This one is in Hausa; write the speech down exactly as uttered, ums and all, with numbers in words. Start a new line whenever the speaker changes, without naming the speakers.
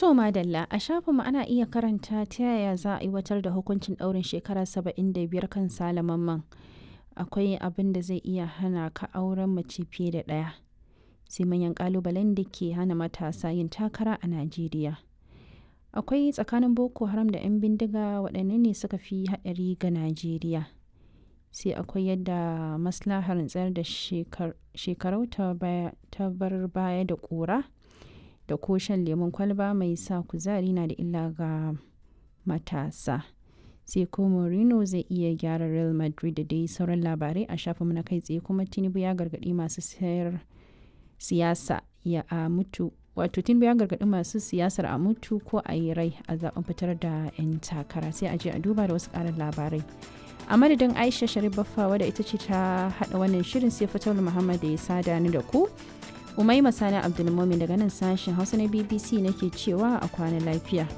To Madalla, a shafinmu ana iya karanta ta yaya za a aiwatar da hukuncin ɗaurin shekara saba'in da biyar kan Sale Mamman. Akwai abin da zai iya hana ka auren mace fiye da ɗaya. Sai manyan ƙalubalen da ke hana matasa yin takara a Najeriya. Akwai tsakanin Boko Haram da 'yan bindiga waɗanne ne suka fi haɗari ga Najeriya. Sai akwai yadda maslahar tsayar da shekarau ta bar baya da ƙura. Da ko shan lemon kwalba mai sa kuzari na da illa ga matasa. Sai ko Mourinho zai iya gyara Real Madrid da dai sauran labarai a shafinmu na kai tsaye kuma Tinubu ya gargaɗi masu sayar siyasa ya a mutu wato Tinubu ya gargaɗi masu siyasar a mutu ko a yi rai a zaben fitar da 'yan takara sai a je a duba da wasu ƙarin labarai. A madadin Aisha Sharif Baffa wadda ita ce ta haɗa wannan shirin sai Fatawul Muhammad da ya sada ni da ku. Umaima Sani Abdulmumin daga nan sashen Hausa na B B C nake cewa a kwana lafiya.